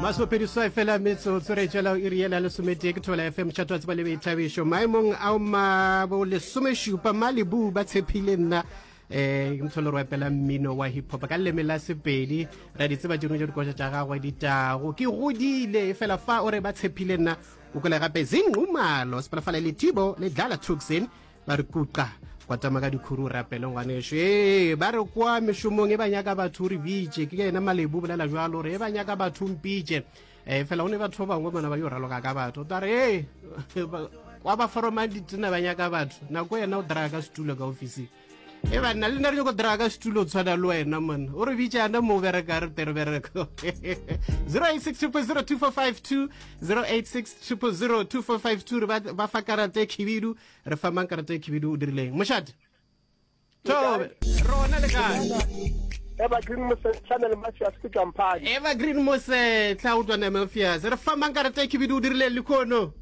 Masomepedi-seswai fela metsotso re tšwela iri yela lesometee ke Thobela FM mošate wa tseba le boithabišo maemong ao ma bo lesomešupa Malibu ba tshepile nna eh ke motho le re opela mmino wa hip hop ka leleme la Sepedi ra di tseba tše dingwe tša dikoša tša gagwe ditago ke godile e fela fa o re ba tshepile nna o kwele gape Zinqumalo Sepalafala le Tibo le Dlala Tuxin Ba re kuqa, kwatama ka dikhuru o rapele ngwaneso. Ee, ba re kwa mešomong e ba nyaka batho o re bitše. Ke yena Malebu o bolela jwalo gore e ba nyaka batho o mpitše. E fela go ne batho ba bangwe bona ba yo raloka ka batho. O tla re ee, kwa ba foromang ditena ba nyaka batho. Nako yena o draga ka setulo ka ofising. E banna le nna re nyako draga ka setulo tshwana le wena monna. O re bitše ana mo o bereka re tere bereko. 086 0002452 086 0002452 re ba fa karata e khibidu re fa mang karata e khibidu o dirileng mošate thobe rona le kae Evergreen Mosetlha le Mafias ke tšwa Evergreen Mosetlha o tšwa Mafias re fa mang karata e khibidu o dirileng lekhono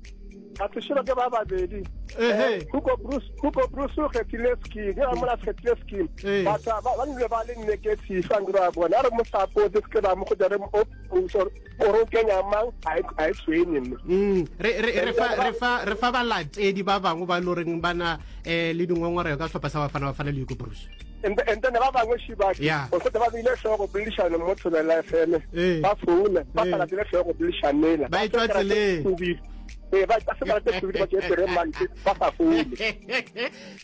Batho ke ba babedi. Eh, Hugo Bruce Hugo Bruce o kgethile scheme ke mola kgethile scheme batho ba ba nile ba le negative fa ngro bona a re mo support se ke ba mo go re mo gore o kenya mang a e tshwenye mme mm, re fa balatedi ba bangwe ba loreng ba na um le dingongorego ka sehlopha sa bafana bafana le Hugo Broos and then ba bangwe shibaki o setse ba beile tlhogo boledišano mo Thobela FM ba founa ba sa latele tlhogo boledišanela ba e tswa tseleng ee ba se ba tse ba tse pere mantse ba sa foune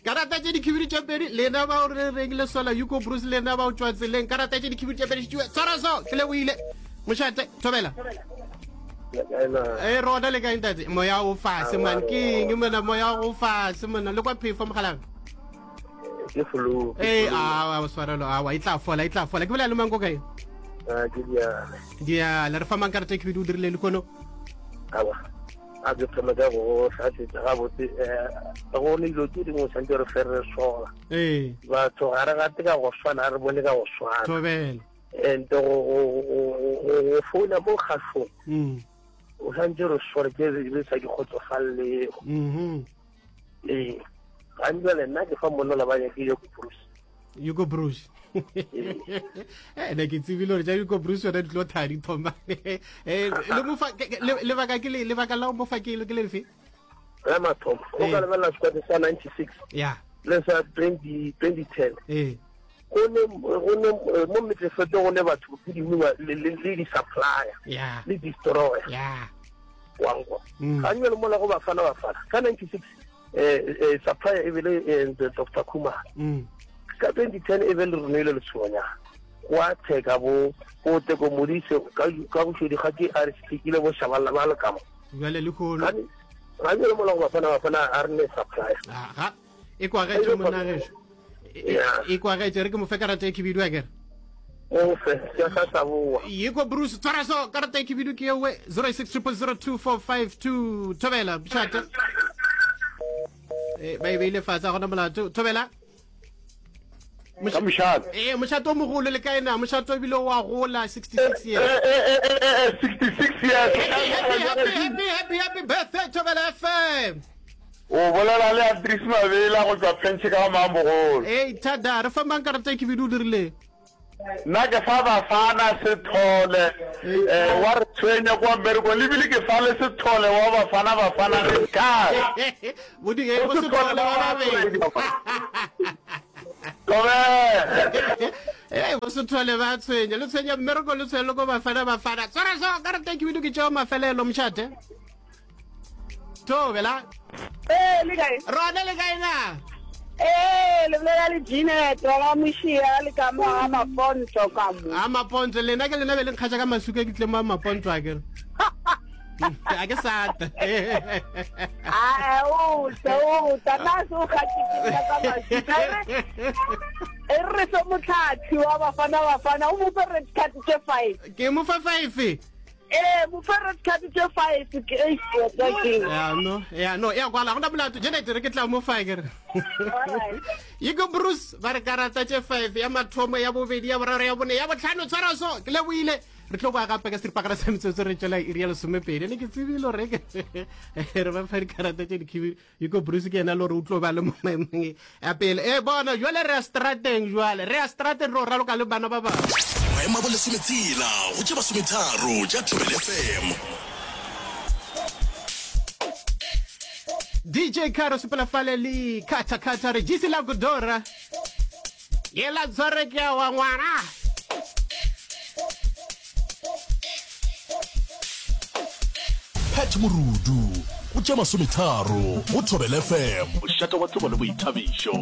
karata tše dikhibidu tše pedi lena ba o re reng le sola Hugo Broos lena ba o tšwa tseleng karata tše dikhibidu tše pedi tšwe tshwara so ke leboile mošate thobela e rona le kae ntate moya o fase man ke eng mona moya o fase mona le kwa phefo mogalabe ke flu ee a swarelo awa e tla fola e tla fola ke bolela le mang ko kae ah, ke diale diale re fa mang karata e khibidu o dirile lekono awa a ke thoma ka go hlatsetsa gabotse um go ne dilo tse dingwe tshwanetse re fe re sola ee batho ga re gate ka go swana re bone ka go swana thobela and go founa mo kgašong mm. o santse re sore ke re sa di kgotsofalelego mm-hmm. ee gantsi nna ke fa monna ba nyakile go bruce Hugo Bruce eh ne ke tsebile gore tša Hugo Bruce yona di tlo thaya di thoma eh le mofa lebaka ke le lebaka la go mofa ke le ke lefe la mathomo o ka lebelela squad sa 96 ya le sa 20 2010 eh go ne go ne mo metsefete go ne batho ke dingwe le le di supplier ya le destroyer ya wankwa ga nne le mola go bafana bafana ka 96 eh, eh supplier e bele eh, Dr Khumalo mm. ka 2010 e be le roneile letshonyana kwa theka bo bo teko modise ka ka boshodi ga ke a re sekile bo shaballa ba le kamo jwale le khono ga le mola go bafana bafana a re ne supplier aha e kwagetše monna gešo e kwagetše re ke mo fe karata e khibidu a kere ofe ke sa sa boa yiko bruce tshwara so karata e khibidu ke ewe 06 0002452 thobela bšate eh, ba e beile fatshe a gona molato thobela ka mošate ee mošate o mogolo le kae na mošate o bile wa gola 66 years 66 years happy happy happy happy happy birthday thobela fm O bolela le Andries Mabela go tšwa Pentšhe ka ga Mambogolo. Ei, thada, re fa mang karata e khibidu o dirile? Nna ke fa Bafana Sethole eh, wa re tshwenya kwa mmerekong le bile ke fa le Sethole wa Bafana Bafana re kae? Bo di- eh, bo Sethole ba babedi. Thobela. Ee, bo Sethole ba tshwenya, le tshwenya mmereko le tshwenya le ko Bafana Bafana. Tshwara so, karata e khibidu ke tšeo mafelelo mošate. Thobela. Ee, le kae? Rona le kae na? Ee, le bolela le Jeanette wa ga Mošia le ka mo ga Maponto ka mo. A Maponto, lena ke lena be le nkgatša ka masuka ke tle mo a Maponto a kere. A ke sata. A o tla o tla na se o kgatšitše ka masuka. E re fe motlhatsi wa Bafana Bafana o mo fe red card tše 5. Ke mo fa 5. Ee, mo fe red card tše 5 ke eish tota ke. Ya no, ya no, ya kwala gona molato Janet re ke tla mo fa ke re. Alright. Yiko Bruce ba re karata tše 5 ya mathomo ya bobedi ya boraro ya bone ya botlhano tshwara so ke leboile re tlo boa gape ka seripagare sa metsotso re tšwela iri ya lesomepedi ne ke tsebile gore ke re ba fa dikarata tše dikhibidu Yiko Bruce ke yena le gore o tlo ba le mo maemong a pele e bona jwale re ya strateng jwale re ya strateng re o raloka le bana ba bangwe. Maemo a bolesometshela go tše masometharo tša Thobela FM. DJ Caro sepela fale le Kata Kata re jisi la Godora. Yela tshware ke wa ngwana. Pat Morudu go tše masometharo go Thobela FM. Mošate wa tsebo le boithabišo.